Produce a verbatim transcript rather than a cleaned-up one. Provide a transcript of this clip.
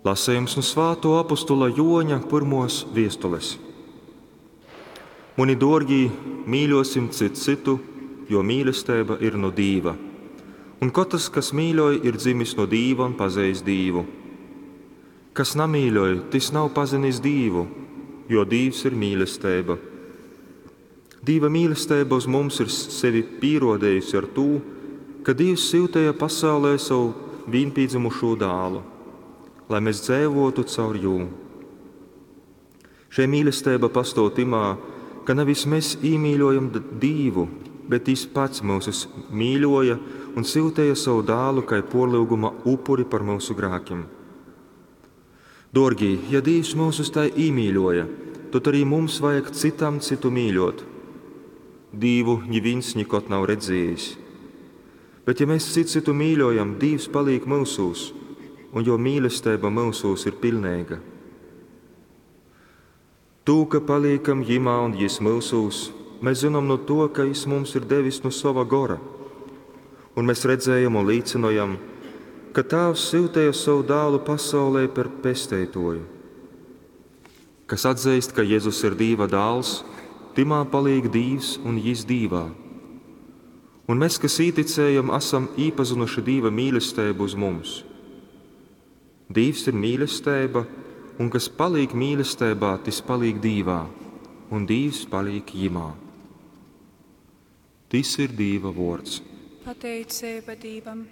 Lasejums nu svātuo apostula Juoņa pyrmuos viestules. Muni duorgī, mīļuosim cyts cytu, jo mīlesteiba ir nu Dīva. Un kotrs, kas mīļoj, ir dzimis nu Dīva un pazeist Dīvu. Kas namīļoj, tys nav pazinis Dīvu, jo Dīvs ir mīlesteiba. Dīva mīlesteiba uz mums ir sevi pīruodejusi ar tū, ka Dīvs syuteja pasaulē savu vīnpīdzymušū dālu, lai mēs dzeivotu caur jū. Šei mīlesteiba pastuov tymā, ka nevis mēs īmīļojam Dīvu, bet Jis pats myusus mīļoja un syuteja savu dālu kai puorlyuguma upuri par myusu grākim. Duorgī, ja Dīvs myusus tai īmīļoja, tod arī mums vajag cytam cytu mīļuot. Dīvu nivīns nikod nav redziejis. Bet ja mēs cits cytu mīļojam, Dīvs palīk myusūs, un juo mīlesteiba myusūs ir piļneiga. Tū, ka paliekam Jimā un Jis myusūs, mēs zinām no to, ka Jis mums ir devis no sova gora. Un mēs redzējam un līcinojam, ka Tāvs syuteja savu dālu pasaulē par pesteitoju. Kas atzeist, ka Jezus ir Dīva dāls, tymā palīk Dīvs un Jis Dīvā. Un mēs, kas īticējam, esam īpazinuši Dīva mīlesteibu uz mums. Dīvs ir mīlesteiba, un kas palīk mīlestībā, tis palīk Dīvā, un Dīvs palīk jimā. Tis ir Dīva vuords. Pateiceiba Dīvam.